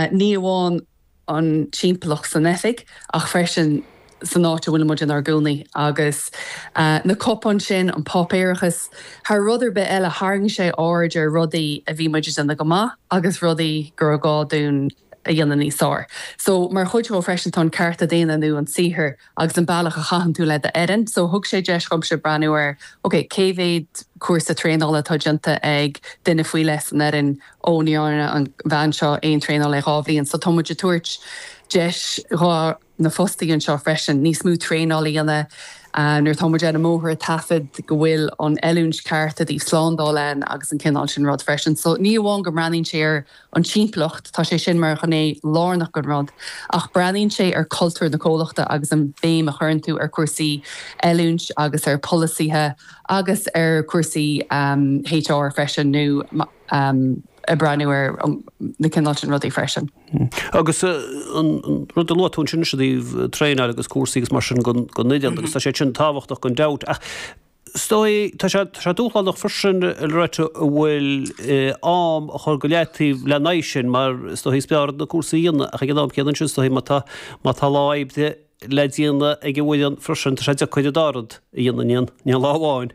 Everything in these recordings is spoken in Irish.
Ní amháin an timpeallacht san oifig ach freisin san áit a bhfuil muid inár gcónaí. Agus na cupáin sin, an páipéarachas, thar rud ar bith eile tharraing sé aird ar rudaí a bhí muid ag déanamh go maith agus rudaí go raibh gá dúinn a dhéanamh níos fearr. So mar chuid dhó freisin tá an cearta daonna nó an saothar agus an bealach a chaitheann tú le d'fhoireann. So thug sé deis dhomsa breathnú ar ok cé mhéad cúrsa traenála atá déanta ag duine faoi leith san fhoireann, ó ní dhearna an bhean seo aon traenáil le 2 bhliain. So tá muid ag tabhairt deis dho na fostaithe anseo freisin níos mó traenáil a dhéanamh nuair atá muid ar an mbóthar ag taifead go bhfuil an oiliúint ceart i dtaobh slándáil ann agus an cineál sin rud freisin. So ní amháin go mbreathnaíonn sé ar an timpeallacht, tá sé sin mar ghné lárnach den rud, ach breathnaíonn sé ar cultúr na comhlachta agus an béim a chuireann tú ar cúrsaí oiliúint agus ar polasaithe agus ar cúrsaí HR freisin nó ag breathnú ar na cineál sin rudaí freisin. Agus an rud a luaigh tú ansin i dtaobh traenáil agus cúrsaí agus mar sin don fhoireann agus tá sé sin tábhachtach gan dabht ach Is dóigh, tá sé, tá sé dúshlánach freisin, a Loretta, an bhfuil am a chur go leataobh lena aghaidh sin mar is dóigh is fearr na cúrsaí a dhéanamh ach ag an am céanna ansin is dóigh má tá, má tá lá oibre le déanamh ag an bhfoireann freisin tá sé deacair an dá rud a dhéanamh in aon, in aon lá amháin.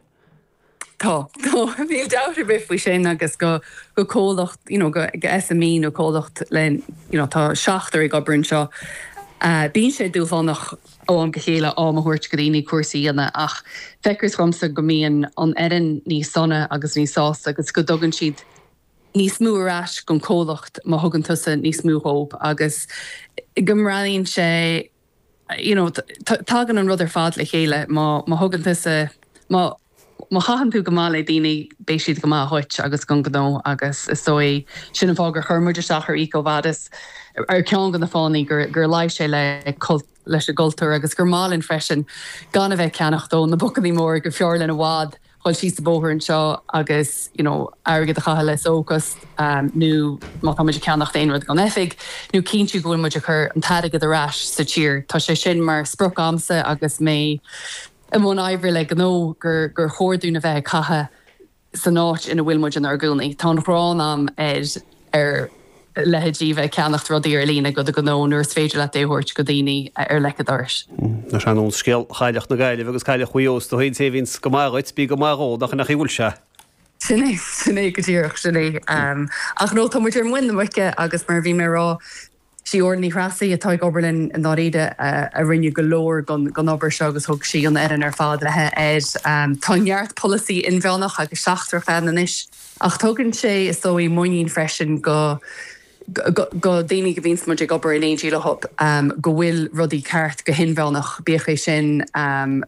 Tá, tá, níl dabht ar bith faoi sin agus go, go comhlacht, you know, go, go SME nó comhlacht le, you know, tá seachtar ag obair anseo, bíonn sé dúshlánach ó am go chéile am a thabhairt go daoine cúrsaí a dhéanamh ach feictear dhomsa go mbíonn an fhoireann níos sona agus níos sásta agus go dtugann siad níos mó ar ais don chomhlacht má thugann tusa níos mó dhóibh agus go mbreathnaíonn sé you know tagann an rud ar fad le chéile má má thugann tusa má Má chaitheann tú go maith le daoine, beidh siad go maith dhuit agus don ghnó agus is dóigh sin an fáth gur chuir muid isteach ar EcoVadis, ar ceann de na fáthanna gur gur luigh sé le leis an gcultúr agus gur maith linn freisin gan a bheith ag ceannacht ó na bacannaí móra gur fearr linn i bhfad dhul síos an bóthar anseo agus you know airgead a chaitheamh le sócast nó má tá muid ag ceannacht aon rud don oifig nó cinntiú go bhfuil muid ag cur an t-airgead ar ais sa tír. Tá sé sin mar sprioc a'msa agus mé i mbun oibre le gnó gur gur chóir dúinn a bheith ag caitheamh san áit ina bhfuil muid inár gcónaí. Tá an ghráin a'm ar ar leithéidí bheith ag ceannacht rudaí ar líne go do ghnó nuair is féidir leat é a thabhairt go daoine ar leic an dorais. Ar nós scéal Chailleach na Gaillimhe agus Cailleach Mhaigh Eo is dóigh an té a bhíonns go maith dhuit, bí go maith dhó, nach in é an chaoi a bhfuil sé? Sin é, sin é go díreach, sin é. Ach no, tá muid ar muin na muice agus mar a bhí mé a rá, Sí Orla Ní Threasaigh, atá ag obair linn i ndáiríre, a rinne go leor den obair seo agus thug sí an fhoireann ar fad léi air. Tá neart polasaí inmheánach agus seachtrach ann anois ach tugann sé, is dóigh, muinín freisin go go daoine go bhíonns muid ag obair in éindí leo go bhfuil rudaí ceart go hinmheánach, bíodh é sin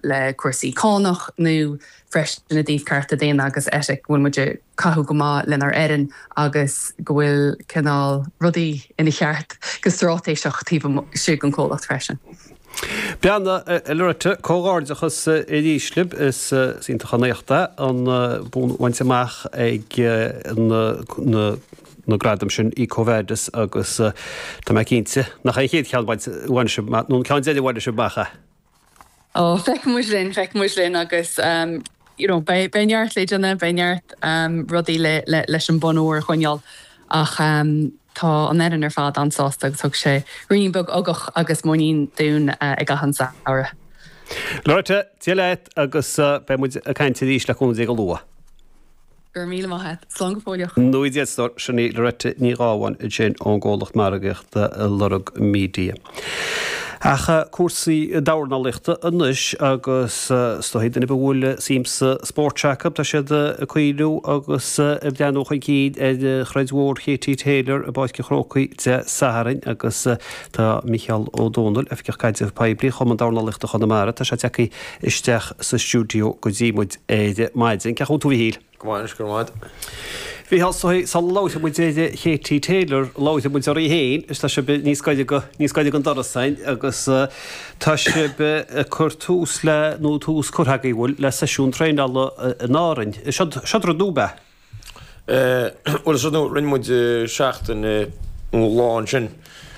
le cúrsaí cánach nó freisin i dtaobh cearta daonna agus eitic, go bhfuil muid ag caitheamh go maith lenár fhoireann agus go bhfuil cineál rudaí ina cheart go straitéiseach taobh istigh den chomhlacht freisin. Breathnaigh, a Loretta, comhghairdeachas arís libh. Is iontach an éacht é an bua a bhaint amach ag na gradaim sin EcoVadis agus tá mé cinnte nach é an chéad cheann a bhain sibh amach, nó an ceann deiridh a bhainfidh sibh amach é. Ó, feicfidh muid linn, feicfidh muid linn agus you know beidh beidh neart le déanamh, beidh neart rudaí le le leis an bonn óir a choinneáil ach tá an fhoireann ar fad an-sásta agus thug sé ruainnín beag ugach agus muinín dúinn i gcaitheamh an samhradh. Loretta, Dia leat agus beidh muid ag caint arís le cúnamh Dé go luath. Go raibh míle maith a't. Slán go fóilleach. Nó Dia duit, sin í Loretta Ní Ghábháin ansin ón gcomhlacht margaíochta Lorg Media. Ach cúrsaí dornálaíochta anois agus is dóigh duine ar bith a bhfuil suim sa spórt seo acu, tá siad ag cuimhniú agus ag breathnú chun cinn ar throid mhór Katie Taylor i bPáirc an Chrócaigh Dé Sathairn agus tá Micheál Ó Domhnaill, Oifigeach Caidrimh Poiblí Chumann Dornálaíochta Chonamara, tá sé tagtha isteach sa stiúideo go dtí muid ar maidin. Cén chaoi a bhfuil tú a Mhichíl? Go maith anois, go raibh maith agat. Mhichíl, sula labhróidh muid ar Katie Taylor, labhróidh muid oraibh féin, is tá sibh níos gaire go, níos gaire don doras againn agus tá sibh ag cur tús le, nó tús curtha agaibh, bhfuil, le seisiún traenála in Árainn. Seod, seod rud nua ab ea? Bhuel, is rud nua, rinne muid seachtain nó lá ansin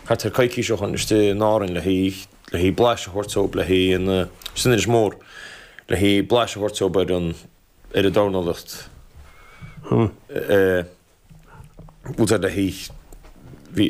thart ar coicís ó shoin istigh in Árainn le haghaidh, le haghaidh blaiseadh a thabhairt dóibh, le haghaidh an, san Inis Mór, le haghaidh blaiseadh a thabhairt dóibh ar an, ar an dornálaíocht. Bhuel, le haghaidh, bhí.